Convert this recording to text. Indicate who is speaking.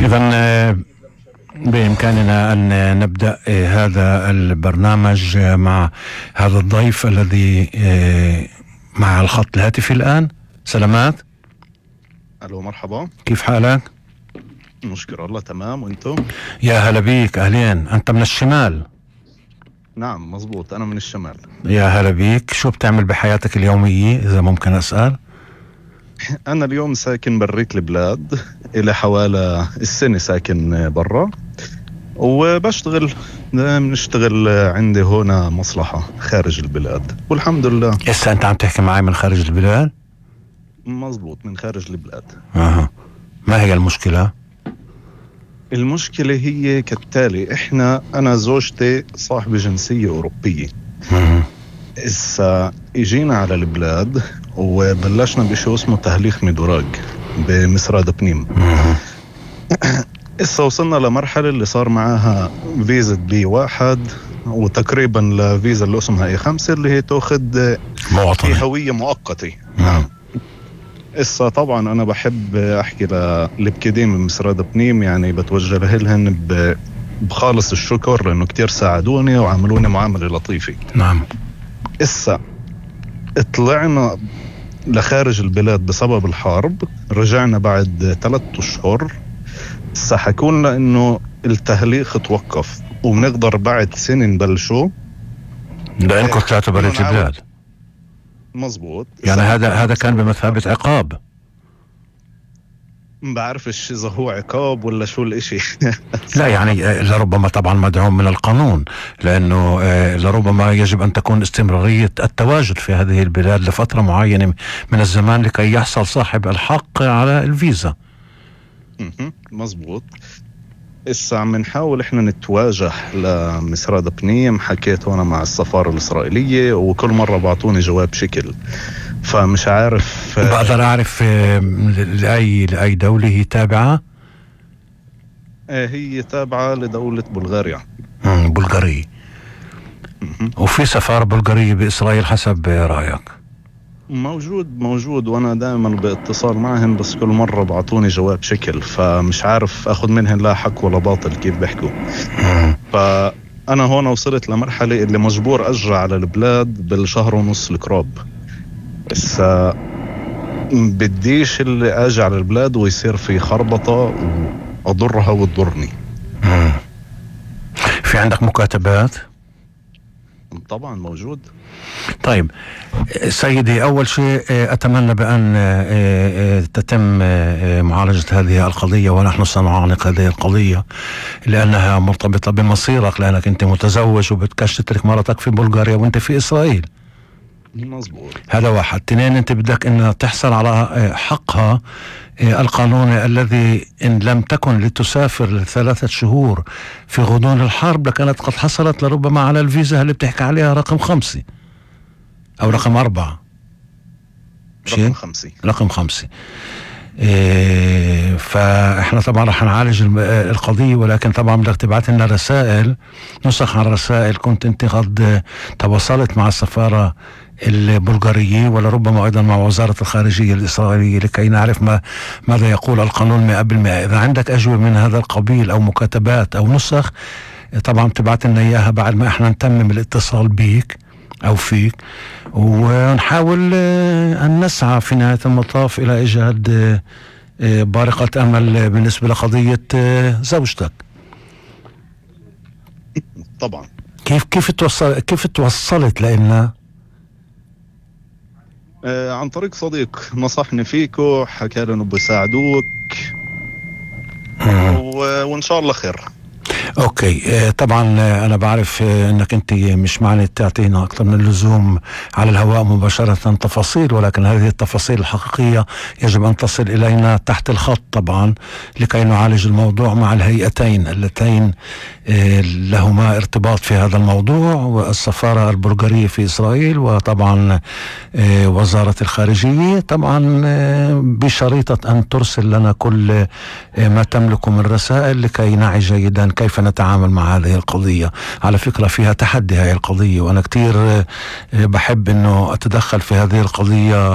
Speaker 1: إذن بإمكاننا أن نبدأ هذا البرنامج مع هذا الضيف الذي مع الخط الهاتفي الآن. سلامات.
Speaker 2: ألو مرحبا،
Speaker 1: كيف حالك؟
Speaker 2: نشكر الله تمام، وانتم؟
Speaker 1: يا هلا بيك، أهلين. أنت من الشمال؟
Speaker 2: نعم مزبوط، أنا من الشمال.
Speaker 1: يا هلا بيك. شو بتعمل بحياتك اليومية إذا ممكن أسأل؟
Speaker 2: أنا اليوم ساكن بريت البلاد، إلى حوالي السنة ساكن برا، وبشتغل بنشتغل عندي هنا مصلحة خارج البلاد والحمد لله.
Speaker 1: هسه أنت عم تحكي معي من خارج البلاد؟
Speaker 2: مزبوط، من خارج البلاد.
Speaker 1: ما هي المشكلة؟
Speaker 2: المشكلة هي كالتالي، أنا زوجتي صاحبة جنسية أوروبية. إسا إجينا على البلاد وبلشنا بشيء اسمه تهليخ مدراج بمسراد بنيم. إسا وصلنا لمرحلة اللي صار معاها فيزا B1 وتقريبا لفيزا اللي اسمها A5 اللي هي تأخذ
Speaker 1: مواطنة،
Speaker 2: هوية مؤقتة. نعم. إسا طبعا أنا بحب أحكي للبكدين من مسراد بنيم، يعني بتوجه لهن بخالص الشكر لأنه كتير ساعدوني وعملوني معاملة لطيفة.
Speaker 1: نعم.
Speaker 2: إسا طلعنا لخارج البلاد بسبب الحرب، رجعنا بعد 3 أشهر. إسا حكولنا إنه التهليخ توقف وبنقدر بعد سنة نبلشو
Speaker 1: لأنكم طلعتوا بريت البلاد.
Speaker 2: مزبوط.
Speaker 1: يعني هذا كان بمثابة عقاب.
Speaker 2: ما بعرفش إذا هو عقاب ولا شو الاشي.
Speaker 1: لا يعني لربما طبعا مدعوم من القانون، لأنه لربما يجب أن تكون استمرارية التواجد في هذه البلاد لفترة معينة من الزمان لكي يحصل صاحب الحق على الفيزا.
Speaker 2: مزبوط. إسا عم نحاول إحنا نتواجه لمسراد بنيم، حكيت هنا مع السفارة الإسرائيلية وكل مرة بعطوني جواب شكل، فمش عارف.
Speaker 1: بقدر أعرف لأي دولة هي تابعة؟
Speaker 2: هي تابعة لدولة بلغاريا.
Speaker 1: بلغارية. وفي سفارة بلغارية بإسرائيل حسب رأيك؟
Speaker 2: موجود وانا دائما باتصال معهم، بس كل مرة بعطوني جواب شكل، فمش عارف اخذ منهم لا حق ولا باطل كيف بيحكوا. فانا هون وصلت لمرحلة اللي مجبور ارجع على البلاد بالشهر ونص القراب. بس بديش اللي اجي على البلاد ويصير في خربطة واضرها وتضرني.
Speaker 1: في عندك مكاتبات؟
Speaker 2: طبعا موجود.
Speaker 1: طيب سيدي، أول شيء أتمنى بأن تتم معالجة هذه القضية، ونحن سنعانق هذه القضية لأنها مرتبطة بمصيرك، لأنك أنت متزوج وبتكش تترك مرتك في بلغاريا وأنت في إسرائيل.
Speaker 2: مظبوط.
Speaker 1: هذا واحد. 2، أنت بدك أن تحصل على حقها القانوني الذي إن لم تكن لتسافر ل3 شهور في غضون الحرب لكانت قد حصلت لربما على الفيزا اللي بتحكي عليها رقم 5 أو رقم 4. رقم 5. فإحنا طبعا رح نعالج القضية، ولكن طبعا بدك تبعت لنا رسائل، نسخ عن رسائل كنت أنت قد تواصلت مع السفارة البلغارية ولربما أيضا مع وزارة الخارجية الإسرائيلية لكي نعرف ماذا يقول القانون 100%. إذا عندك أجوبة من هذا القبيل أو مكاتبات أو نسخ، طبعا تبعت لنا إياها بعد ما إحنا نتمم الاتصال بيك أو فيك، ونحاول أن نسعى في نهاية المطاف إلى إيجاد بارقة أمل بالنسبة لقضية زوجتك.
Speaker 2: طبعا.
Speaker 1: كيف توصلت لنا؟
Speaker 2: عن طريق صديق نصحني فيك وحكى لي انه بيساعدوك وان شاء الله خير.
Speaker 1: اوكي. طبعا انا بعرف انك انت مش معني تعطينا اكثر من اللزوم على الهواء مباشرة تفاصيل، ولكن هذه التفاصيل الحقيقية يجب ان تصل الينا تحت الخط طبعا لكي نعالج الموضوع مع الهيئتين اللتين لهما ارتباط في هذا الموضوع، والسفارة البلغارية في إسرائيل وطبعا وزارة الخارجية، طبعا بشريطة أن ترسل لنا كل ما تملك من رسائل لكي نعي جيدا كيف نتعامل مع هذه القضية. على فكرة فيها تحدي هذه القضية، وأنا كتير بحب أنه أتدخل في هذه القضية